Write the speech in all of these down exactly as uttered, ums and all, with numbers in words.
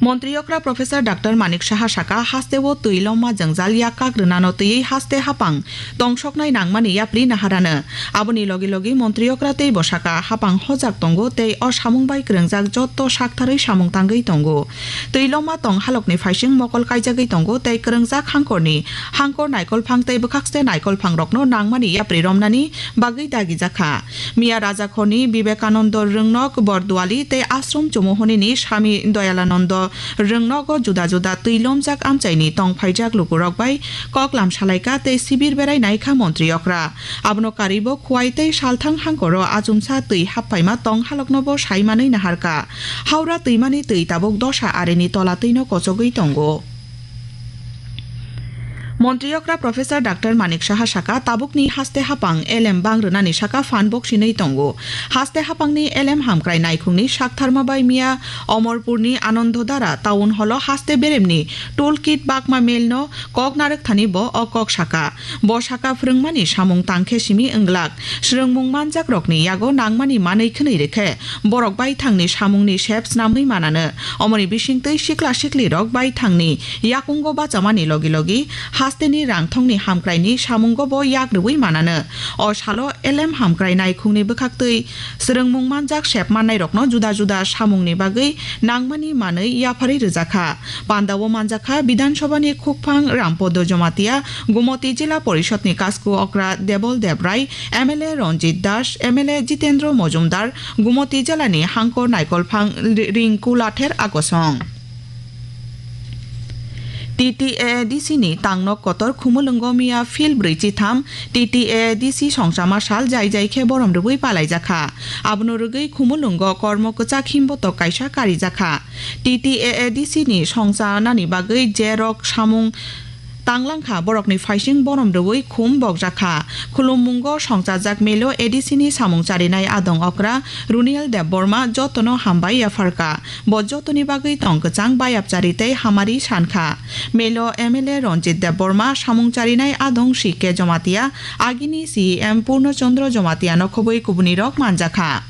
Montri okra Professor Doctor Manik Saha saka, hasteo twi lomma jwngjal yak kak rwnano twiwi haste hapang tongsoknai nangmani yapri naharano. Aboni logi logi montri okra tei bo saka, hapang hojak tongo tei o samung bai kwrwngjak jotto saktharwi samung tangwi tongo. Twi lomma tong halokni phaising mokol kaijagwi tongo tei kwrwngjak hangkorni hangkor naikolphang tei bwkhakste naikolphangrokno nangmani yapri romnani bagwi dagijakha. Miya Rajakhorni Bibekanando Rwngnok Borduali tei Ashram Chumuhunini Swami Dayalanando Rwngnogo juda juda twi lomjak amchaini tong phaijak lukurok bai koklam salaikha tei sibir berai naikha montri okra. Abono karwibo Khowai tei Salthang hangkoro achumsa twi happaima tong haloknobo sai manwi naharkha. Howrah twimani twi tabuk dosa arini tola twino kochogwi tongo. Montri okra Professor Doctor Manik Saha saka, tabukni haste hapang elem bang rwnani saka phan boksinwi tongo. Haste hapangni elem hamkrai naikhungni saktharma bai miya Omorpurni Anandodara Town Hall-o haste beremni tool kit bakma melno kok narwkthani bo o kok saka. Bo saka, phwrwngmani samung tangkhe simi wnglak. Swrwngmung manjakrokni yago nangmani manwi khwnwi rwkhe, borok baithangni samungni sep snamwi manano. Omoni bisingtwi sikla siklirok baithangni yakungo bachamani logi logi hasteni rangthongni hamkraini samungo bo yak rwui manano. O salo elem hamkrai naikhungni bwkhaktwi swrwngmung manjak sep mannairokno juda juda samungni bagwi nangmani manwi yapharwi rwjakha. Pandao manjakha Bidhan Sabhani khukphang Rampodo Jomatia, Gumoti Jila Porishodni Kasku Okra Debol Debrai, M L A Ranjit Das, M L A Jitendra Mojumdar, Gumoti Jilani hangkor naikolphang Ri-, Rinku Lather Akosong. T T A A D C ni tangnok kotor Khumulwngo miya phil brwi chitham T T A A D C songchama sal jai jai khe borom rwui palaijakha. Abono rwgwi Khumulwngo kormo kwchak himbotok kaisa karijakha. T T A A D C ni songchanani bagwi je rok samung tanglangkha, borokni phaising borom rwui khum bokjakha. Khulummungo songchajak melo A D C ni samung charinai adong okra Runiel Debbarma jotono hambai yapharkha. Bo jotoni bagwi tong kwchang bayapchari tei hamari sankha. Melo M L A Ranjit Debbarma, samung charinai adong C K Jomatia, agini C E M Purno Chandra Jomatia no khobwi kubunirok manjakha.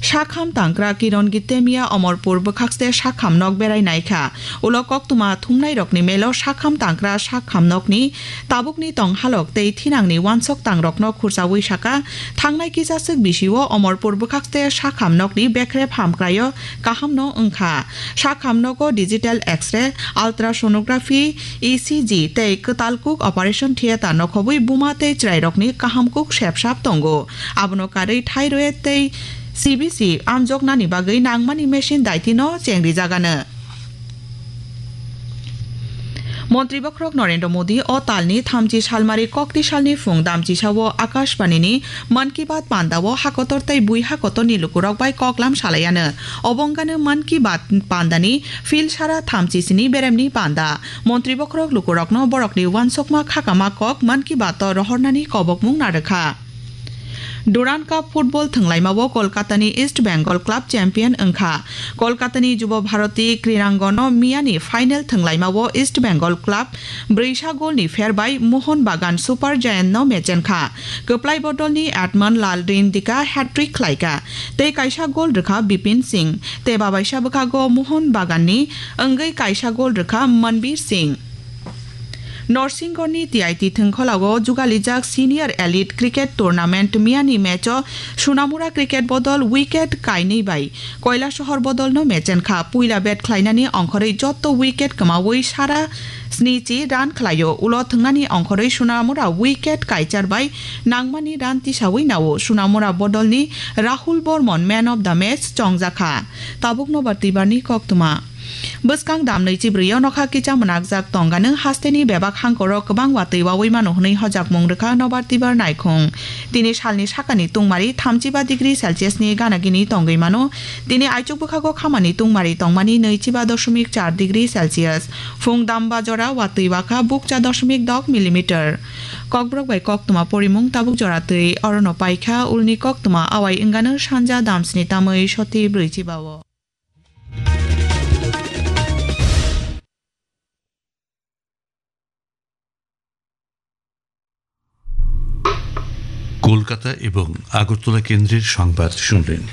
Sakham tangkra Kiron Gittemia Omorpur bwkhakste sakham nok berai naikha. Ulo koktwma thumnairokni melo sakham tangkra sakham nokni tabukni tong halok tei thinangni wansok tangrokno khursaui saka, thangnai kisaswk bisio Omorpur bwkhakste sakham nokni bekrep hamkraio kahamno wngkha. Sakham nogo digital X-ray, ultrasonography, E C G tei kwtal kuk operation theater no khobwi buma tei chwrairokni kaham kuk sepsap tongo. Abono karwi thyroid tei C B C amjoknani bagwi nangmani machine daitino chengrijagano. Montri bokhorok Narendra Modi o talni thamchi salmari kokti salni phung damchisao Akashbanini Mann Ki Baat pandao hakotor tei bui hakotorni lukurok bai koklam salaiano. Obo wngkha Mann Ki Baat pandani phil sara thamchi sini beremni panda. Montri bokhorok lukurokno borokni wansokma khakama kok Mann Ki Baat o rohornani kobokmung narwkha. Durand Cup football thwnglaimao Kolkatani East Bengal club champion wngkha. Kolkatani Jubo Bharati Krinangono miyani final thwnglaimao East Bengal club brwisa golni pher bai Mohon Bagan Super Giant no mechenkha. Kwplai bodolni Edmund Lalrindika hat-trick khlaikha, tei kaisa gol rwkha Bipin Singh, tei babaisa bwkhago Mohon Baganni wngwi kaisa gol rwkha Manbir Singh. Norsingorni T I T thwngkhwlao jugalijak Senior Elite Cricket Tournament miyani match-o Sunamura Cricket bodol wicket kainwi bai Kailasahar bodolno mechenkha. Puila bat khlainani ongkhorwi jotto wicket kwmaui sara snichi run khlaio. Ulo thwngnani ongkhorwi Sunamura wicket kaichar bai nangmani run tisaui nao. Sunamura bodolni Rahul Bormon man of the match chongjakha. Tabuk nobar twibarni koktwma. Bwskang dam nwichi brwi o nokha kicha mwnakjak tongano hasteni bebak hangkoro kwbang watwi waui mano hwnwi hojakmung rwkha nobar twibar naikhung. Tini salni sakani tungmari thamchiba degree Celsius ni gana gini tongwi mano. Tini aichuk bwkhago khamani tungmari tongmani nwichiba doshomik char degree Celsius. Phung damba jora watwi wakha bukcha doshomik dok millimeter. Kokborok bai koktwma porimung tabuk jora twi orono paikha, ulni koktwma awai wngano sanja damsni tamwi soti brwichiba o. Kolkata এবং আগরতলা কেন্দ্রের সংবাদ শুনলেন।